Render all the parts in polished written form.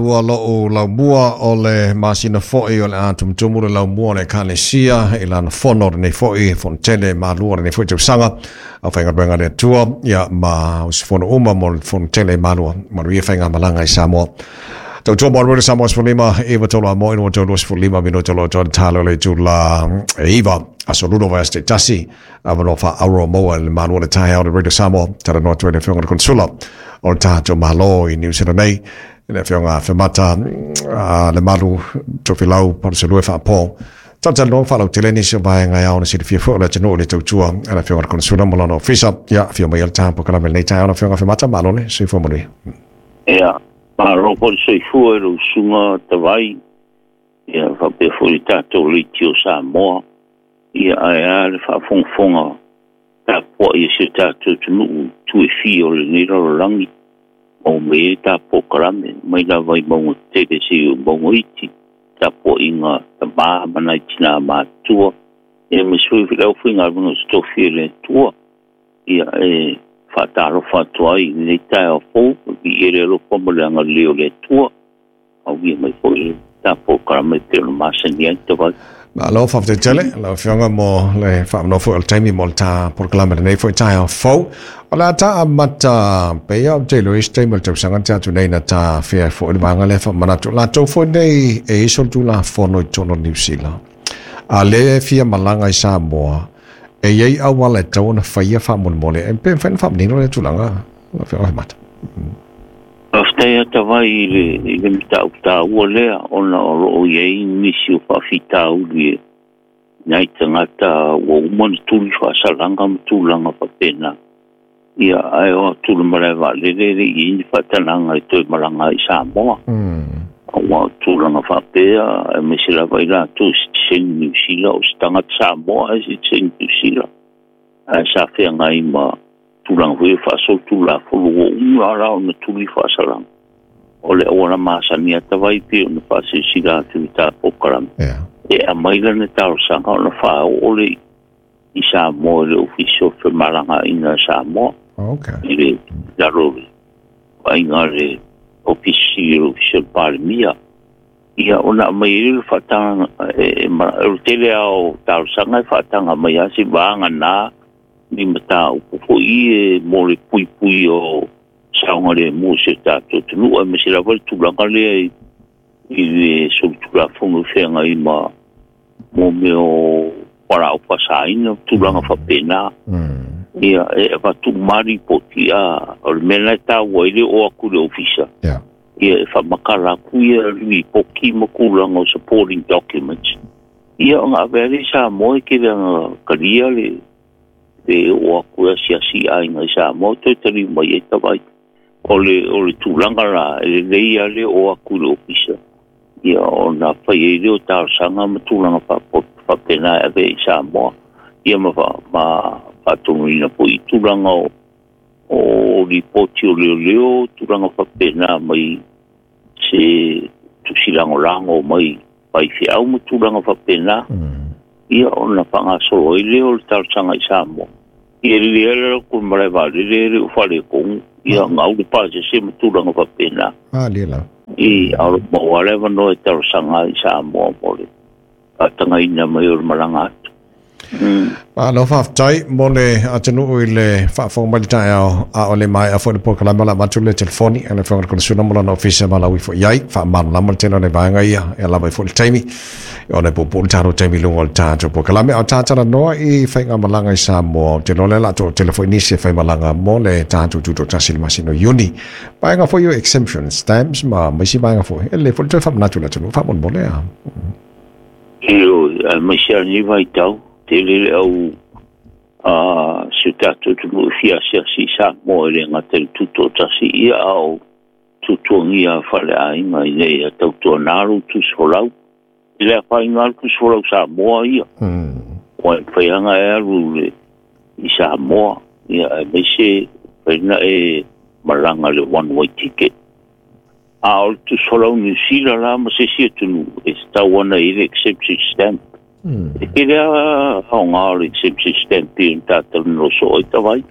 Ua lou laumua o le masina foi o le a tumutumu le laumua o le Ekalesia i lana fono lenei foi, fono tele malua lenei foi tausaga, aufaigaluega a le Atua, ia ma usufono uma mo le fono tele malua, manuia faigamalaga i Samoa. Tautua mo le Samoa 15, 9 tolu a mo inu tolu 15 minuta lo tolu talo le itula e 9, aso lua vaiaso taitasi, avanoa faaauuro maua i le malu o le taeao le Radio Samoa, talanoa atu ai le Afioga i le Konesula o le tatou Malo i Niu Sila nei, le Afioga Afemata Lemalu Tofilau Palusalua Faapo. Talatalanoa ma faalautele nisi o vaega e ao ona silafia foi o le atunuu i le tautua a le Afioga i le Konesula ma lona ofisa. Ia, afio mai le tapu polokalame i lenei taeao le Afioga Afemata, malo le soifua manuia. Ia, malo foi le soifua i lou usuga Tavai, ia faapea foi le tatou Leitio Samoa, ia ae a le faafogafoga tapuai a si o tatou atunuu i itu e fia o lenei lalolagi, maua mai ai le ta polokalame, mai lava i mauga tetele seia oo i mauga iti, tapuaiga a tama ma nai tina matutua, ia aemaise foi le aufaigaluega o totofi e le Atua. Ia e faatalofa atu ai i lenei taeao fou, viia le alofa ma le agalelei o le Atua. Aulia mai foi le ta polokalame e pei ona masani ai Tavai. Malo, faafetai tele lau Afioga mo le faamanoa foi o le taimi mo le ta polokalame lenei foi taeao fou. O le a ta amata pei ou te iloa i isi taimi o le tausaga na tea atu nei na ta afea ai foi le vaega lea faamanatu. Latou foi nei e i ai solitulafono i totonu o Niu Sila, a lea e fia malaga i Samoa, e i ai auala e tatau ona faia faamolemole. E pe mafai ona faamanino lea tulaga, lau Afioga Afemata? Faafetai ata vai i le, i le mataupu taua lea, ona o lo o i ai nisi o faafitauli e nai tagata ua uma ona tuli faasalaga ma tulaga faapena. Ia, ae o atu i le malae vaalele e le i i ai ni faatagaga e toe malaga ai i Samoa. Aua o tulaga faapea, aemaise lava i latou e sitiseni Niu Sila, o se tagata Samoa ae sitiseni Niu Sila, ae sa feagai ma tulaga foi ia faasolitulafono ua uma la ona tuli faasalaga. O le auala masani ata vai pei ona faasilasila atu i le ta polokalame. E aumai lana talosaga ona faaoo lea i Samoa i le Ofisa o Femalagaaiga a Samoa. I le lalo o le vaaiga a le Ofisa Sili o le Ofisa o le Palemia. Ia ona aumai ai lea o le faatagaga, o le tele lava o talosaga e faataga mai lava se vagana ni mataupu foi e mo le puipui o saogalemu o si o tatou atunuu, aemaise lava le tulaga lea i le solitulafono e feagai ma mo mea o fualaau faasaina, tulaga faapena. Ia, e avatu uma lava lipoti, a o le mea lena e taua ai le oo atu i le ofisa, ia e faamatala atu ia lipoti ma tulaga o supporting documents. Ia ona ave lea i Samoa e tele ana talia le oo atu e asiasi i aiga i Samoa toe taliu mai ai Tavai. O le, o le tulaga la, e lelei lava le oo atu i le ofisa, ia ona fai ai lea o talosaga ma tulaga faapena e ave i Samoa, ia ma, ma faatonuina foi i tulaga o lipoti o leoleo, tulaga faapena mai se tusi lagolago mai faifeau ma tulaga faapena, ia ona faagasolo ai lea o le talosaga i Samoa. Ia e lelei lava le alu atu i le malae vaalele e le o faaletonu, ia gau le pasese ma tulaga faapena. I, a o lo o maua lava le avanoa e talosaga ai i Samoa mo le faatagaina mai o le malaga atu. Malo faafetai mo le atunuu i le faafofoga mai le taeao, a o le maea foi le polokalame o le a avatu le telefoni a le Afioga i le Konesula ma lona ofisa e valaau ifo i ai, faamalamalama le tele o nai vaega ia e lava ai foi le taimi ona e puupuu le tatou taimi i luga o le tatou polokalame. A o ta talanoa i faigamalaga i Samoa, ou te iloa lea o le a toatele foi nisi e faimalaga mo le tatou tutoatasi i le masina o Iuni. Vaega foi o exemption stamps ma isi vaega foi, e lelei foi le toe faamanatu i le atunuu faamolemole a. Ioe, aemaise lava lenei vaitau, tele le au a si o tatou atunuu e fia asiasi i Samoa e le gata i le tutoatasi ia, a o tuatuagia faaleaiga ina ia tautuana lou tusifolau. E le afaina lava le tusifolau Samoa ia. Ua e mafai lava ona e alu i Samoa, ia aemaise mafai ona e malaga i le one way ticket. A o le tusifolau Niu Sila la ma se isi atunuu e tatau ana i ai le exemption stamp. E tele lava aoga o le exemption stamp pei ona tatou talanoa soo ai Tavai.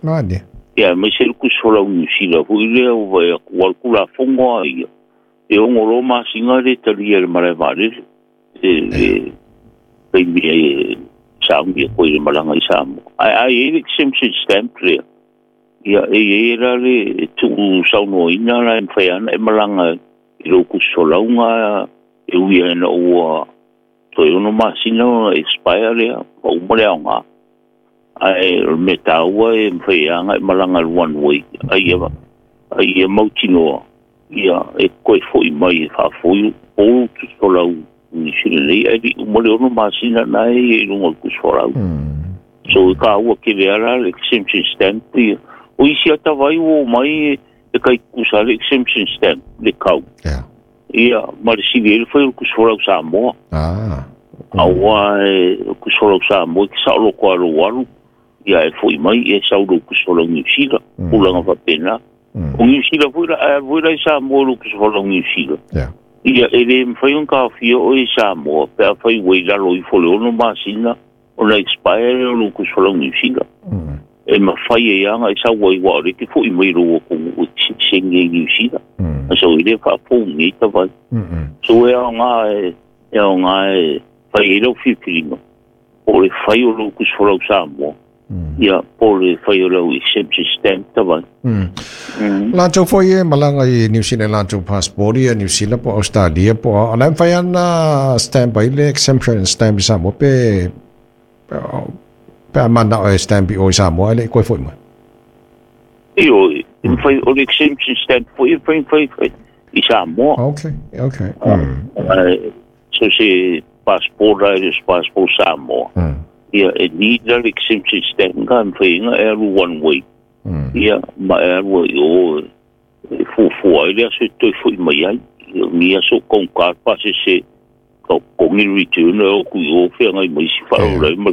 Ia aemaise le tusifolau Niu Sila foi lea ua vaai atu, aua o le Tulafono lava ia, E ongo lo masinga le talia le malae vaalele e taimi e sauni e koe le malaga i Samoa. Ae a i ai le exemption stamp lea, ia e i ai la le tuu saunoaina la e mafai ana e malaga i lou kusifolauga e ui ai ina ua toe 6 masina ona expire lea ma uma le aoga. Ae o le mea taua e mafai ai aga e malaga i le one way ai ia mautinoa ia e koe fo'i mai e faafoiu pou tusifolau Niu Sila nei ae li'i uma le 6 masina na e ia i luga o le tusifolau. So e kāua kele ala le exemption stamp ia. O isi ata vai ua omai e kai tutusa le exemption stamp le kau. Ia ma le sili ai le fai o le tusifolau Samoa. Auā e tusifolau Samoa e te saoloko a lou alu ia e fo'i mai e sau lou tusifolau Niu Sila. Tulaga faapena. O Niu Sila foi la ae alu foi la i Samoa lou tusifolau Niu Sila. Ia e lē mafai ona taofia oe i Samoa pe afai ua i lalo ifo le 6 masina ona expire lea o lou tusifolau Niu Sila. E mafai ai aga e sau ai uā o lea e te fo'i mai i lou atunuu e te sitiseni ai i Niu Sila. Sau ai lea faafou nei tavai. So e aoga e aoga e fai ai lau filifiliga po o le fai o lou tusifolau Samoa ia po o le fai o lau exemption stamp tavai. Latou foi e malaga i Niu Sila i latou passport ia Niu Sila po o Australia po o la e mafai ana stamp ai le exemption stamp i Samoa pe pe a mana'o e stamp i o i Samoa ae le i koe fo'i mai. Ioe, e mafai o le exemption stamp foi e mafai ona fai i Samoa. Okay, okay. So se passport a e le o se passport Samoa. Ia e need la le exemption stamp ka mafai ai ona e alu one way. Ia ma e alu ai i o e fuafua ai le aso e toe fo'i mai ai. Ia o ni aso kaugata pasese ka totogi le return e o atu i o feagai ma isi faalavelave ma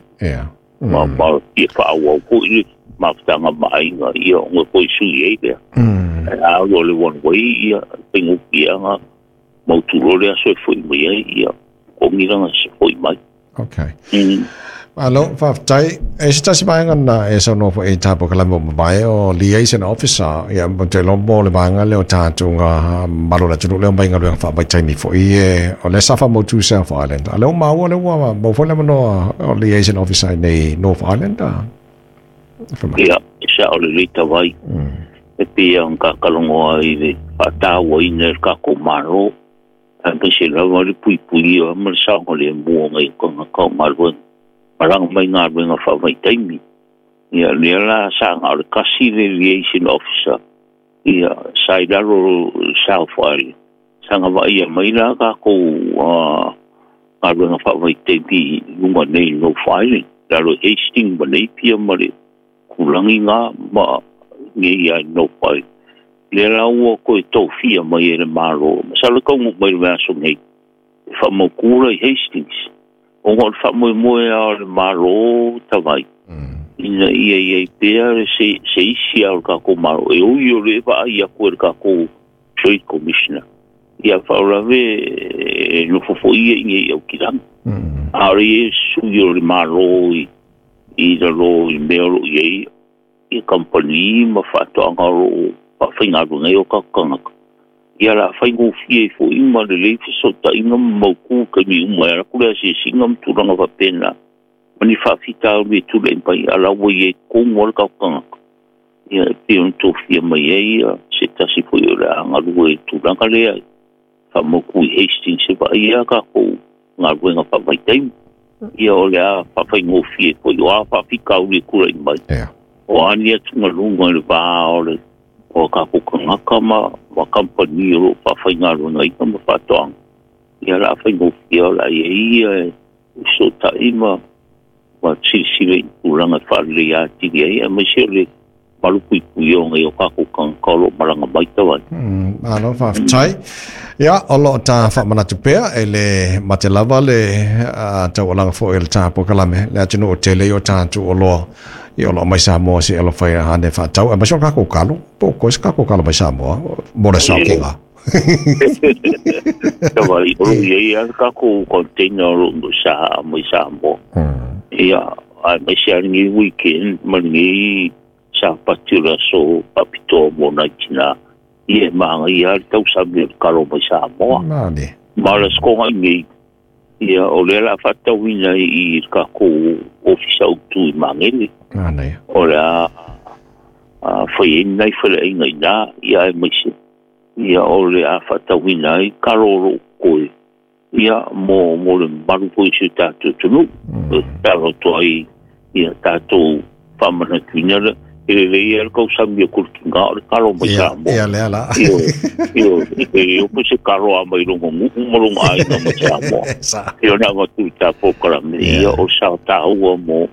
ma ma fia faaauau foi le mafutaga ma aiga ia ona toe sui ai lea. Ae a alu o le one way ia e faigofie lava ona mautu loa le aso e fo'i mai ai ia totogi lana fo'i mai. Okay. Malo, faafetai. E se tasi vaega na e saunoa foi i tā polokalame ua mavae o liaison officer, ia, mo te iloa mo le vaega lea o tatou ngā malo o le atunuu lea mai galuega faavaitaimi foi e o lea sa faamautu South Island. A lea ua maua lea ua maua foi le avanoa o liaison officer i nei North Island a? Ia, e sao lelei tavai. E pei ona tatalanoa ai i le faatauaina e le tatou Malo. Aemaise lava le puipuia ma le saogalemu o nai tagata o galuega, malaga mai galuega faavaitaimi. Ia, lea la sa na o le tasi le liaison officer, ia, sa i lalo o South Island. Sa na vaaia mai la tatou galuega faavaitaimi i luga nei i North Island, lalo i Hastings ma Napier ma le tulaga na ma nei lava i North Island. Lea la ua toe tofia mai e le Malo, masalo e taunuu mai i le vaiaso nei, e faamautu la i Hastings, ona o le faamoemoe lava o le Malo tavai, ina ia i ai pea se isi lava o le tatou Malo, e ui o lea e vaai atu e le tatou Trade Commissioner, ia faalavelave e nofo foi ia i inei i Aukilani. A o le i ai se sui o le Malo i lalo i mea o lo o i ai ia kamupani ma faatoaga o lo o faafaigaluega ai o tatou tagata, ia o le a faigofie ai foi ma lelei fesootaiga ma mautu i taimi uma e alu atu le asiasiga ma tulaga faapena ma ni faafitauli e tulai mai, a o la ua i ai tonu lava le tatou tagata, ia e pei ona tofia mai ai ia se tasi foi o le a galue i le tulaga lea e faamautu i Hastings e vaai ai a tatou galuega faavaitaimi. Ia o le a faafaigofie foi o a faafitauli e tulai mai. O a ni atugaluga i le va o le o tatou tagata ma kamupani o lo o faafaigaluegaina ma faatoaga. Ia o le a faigofie o le a i ai ia e fesootai ma silasila i tulaga e faaleleia atili ai, aemaise o le malupuipuia o nai o tatou tagata o lo o malaga mai tavai. Malo faafetai. Ia, o lo o ta faamanatu pea e le mate lava le taualaga foi o le ta polokalame, le atunuu o tele i o tatou oloa i o lo o mai Samoa se i alofa ia ane faatau, aemaise o le tatou kalo, po o koe se tatou kalo mai Samoa, mo le saokiga. Tavai, o lo o i ai lava le tatou container o lo o sa mai Samoa. Ia, aemaise lava lenei weekend ma lenei Sapati o le aso faapitoa mo nai tina. Ia e magaia le tausami o le kalo mai Samoa. Ma o le asotoga i nei, ia o lea la faatauina i le tatou ofisa autu i Magele. O le a fai ai nai faleaiga i ina, ia aemaise ia o le a faatauina ai kalo o loo totoe, ia mo le mamalu foi o si o tatou atunuu. E tatalo atu ai ia tatou faamanatuina le e lelei ai le tausami o Kulikiga o le kalo mai Samoa. Ia lea la. Ioe, e le o se kalo a mai lona nuu ma lona aiga mai Samoa. Ia ona avatu i ta polokalame, ia o sa taua mo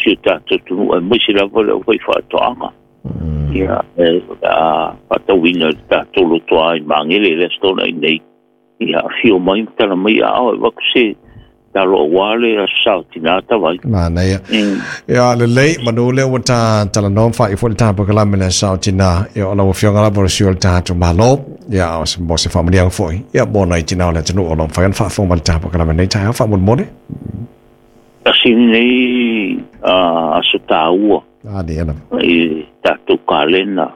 si o tatou atunuu, aemaise lava le aufaifaatoaga. Ia, e a faatauina i le tatou lotoa i Magele i le Aso Toonai nei. Ia, afio mai ma tala mai aao e avatu se talo aua le aso sa o tina tavai. Manaia. Ia, lelei, manu lea ua ta talanoa ma faaiu foi le ta polokalame le aso sa o tina. Ia, o lau Afioga lava o le sui o le tatou Malo. Ia, o se, mo se faamanuiaga foi. Ia, mo nai tina o le atunuu o lo o mafai ona faafofoga mai le ta polokalame nei taeao faamolemole. Tasi lenei aso taua i tatou kalena,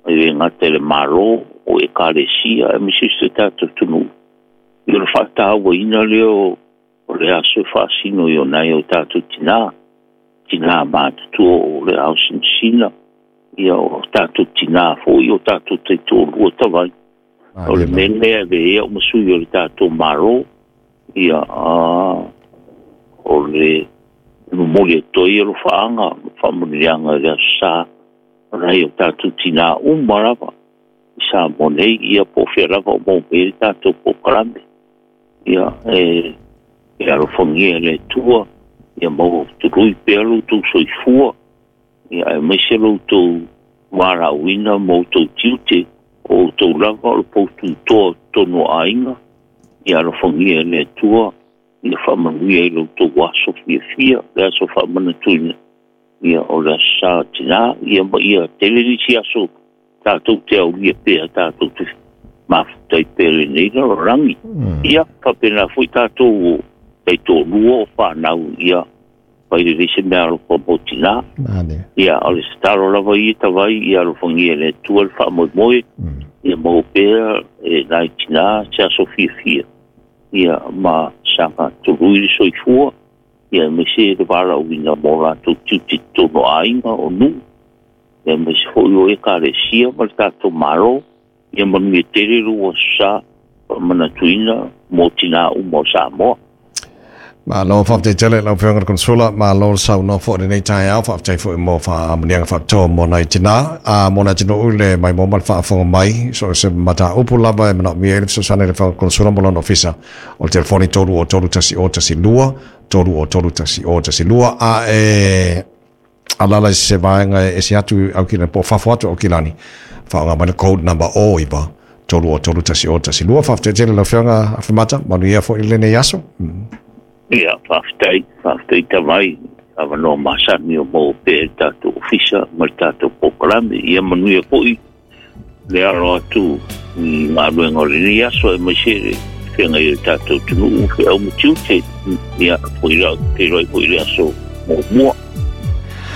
e le gata i le Malo, o Ekalesia, aemaise o si o tatou atunuu. I o le faatauaina lea o le aso e faasino i o nai o tatou tina, tina matutua o le ao sinasina, ia o tatou tina foi, o tatou taitoalua tavai. O le mea lea e avea ai ma sui o le tatou Malo, ia o le momoli atu ai alofaaga ma faamanuiaga i le aso sa o nai o tatou tina uma lava i Samoa nei, ia po o fea lava o maua mai ai le tatou polokalame. Ia e alofagia e le Atua, ia maua tului pea lo outou soifua, ia aemaise lo outou valaauina ma outou tiute, o outou lava o le poututoa o totonu o aiga. Ia alofagia e le Atua, ia faamanuia i lo outou aso fiafia, le aso faamanatuina, ia o le aso sa o tina, ia ma ia tele nisi aso tatou te aulia pea, tatou te mafuta ai pea lenei lalolagi. Ia, faapena foi tatou o taitoalua o fanau, ia fai lelei se mea alofa mo tina. Ia, o le tatalo lava ia tavai, ia alofagia e le Atua le faamoemoe, ia maua pea e nai tina se aso fiafia, ia ma saga tului le soifua, ia aemaise le valaauina mo latou tiute i totonu o aiga o nuu, ia aemaise foi o Ekalesia ma le tatou Malo. Ia manuia tele lou aso sa faamanatuina mo tina uma o Samoa. Malo, faafetai tele lau Afioga i le Konsula, malo le saunoa foi i lenei taeao, faafetai foi mo faamanuiaga faapitoa mo nai tina, a mo le atunuu i le maimoa ma le faafofoga mai, so o se mataupu lava e manaomia ai le fesoasoani a le Afioga i le Konsula mo lona ofisa, o le telefoni 303 1012, 303 1012, a e alala i se vaega e ese atu i Aukilani, po o fafo atu o Aukilani, faaaoga mai le code number 09 303 1012. Faafetai tele lau Afioga Afemata, manuia foi lenei aso. Ia, faafetai, faafetai tavai, avanoa masani o maua pea i le tatou ofisa ma le tatou polokalame. Ia manuia foi le alo atu i galuega o lenei aso, aemaise le feagai o le tatou atunuu, feau ma tiute. Ia, foi lau, feiloai foi i le aso muamua.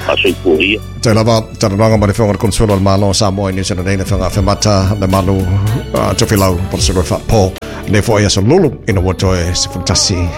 Faasoifua ia. Te lava, talanoaga ma le Afioga i le Konsula o le Malo o Samoa i Niu Sila nei, le Afioga Afemata Lemalu Tofilau, po o le Sulu Faapo. Nei foi aso lulu ina ua toe 11.